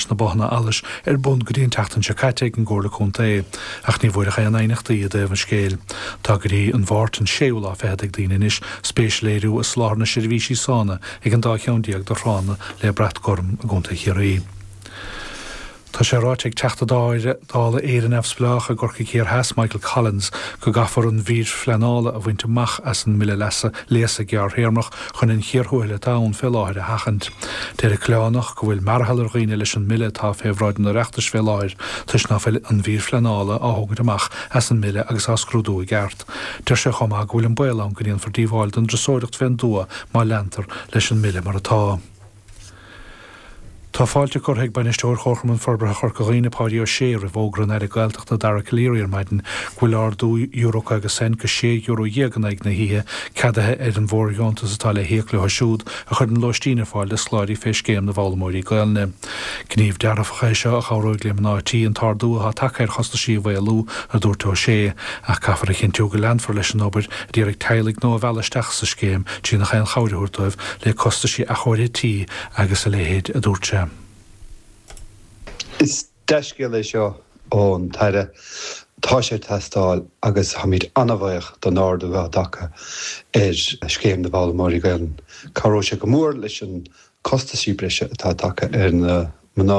Na bothanna allais ar bun go dtí an tseachtain seo caite ag an gComhairle Contae, ach ní bhfuair ach aon aighneachtaí i dtaobh an scéil. Tá go dtí an Mháirt an séú lá fichead ag daoine anois spéis a léiriú i soláthar na seirbhísí sána ag an dá cheann déag de thránna le brat gorm i gContae Chiarraí. Tá sé ráite ag Teachta Dála Éire Neamhspleách i gCorcaigh Thiar Theas, Michael Collins, go gcaithfear an mhír phleanála a bhaint amach as an mBille Leasa Léasa Gearrthéarmach chun an chíor thuathail atá ann fé láthair a sheachaint. Deir an Coileánach go bhfuil mearathall ar dhaoine leis an mBille atá fé bhráid an Oireachtais fé láthair toisc ná fuil an mhír phleanála á thógaint amach as an mBille agus á scrúdú i gceart. Deir sé chomh maith go bhfuil an baol ann go ndéanfar díobháil don dturasóireacht fén dtuath má leantar leis an mBille mar atá. Tá fáilte curtha ag Bainisteoir Chomharchumann Forbartha Chorca Dhuibhne, Páidí Ó Sé, roimh fhógra an Aire Gaeltachta Dara Calleary ar maidin go bhfuil ardú euro 50 cent go €6 in aghaidh na hoíche ceadaithe ar an bhfóirdheontas atá le híoc leo siúd a chuireann lóistín ar fáil do scoláirí fé Scéim na bhFoghlaimeoirí Gaelainne. Gníomh dearfach é seo a chabhróidh le mná tí an t-ardú atá tagtha ar chostaisí a mhaolú, a dúirt Ó Sé, ach caithfear a chinntiú go leanfar leis an obair a d'iarraidh teaghlaigh nua a mhealladh isteach sa scéim trí nach aon chabhair a thabhairt dóibh le costaisí athchóirithe tí agus a leithéid, a dúirt sé. Is dea-scéal é seo ón tAire. Tá sé ag teastáil agus táimid an-bhuíoch don ardú atá tagtha ar Scéim na bhFoghlaimeoirí Gaelainne. Cabhróidh sé go mór leis an costaisí breise atá tagtha ar na mná.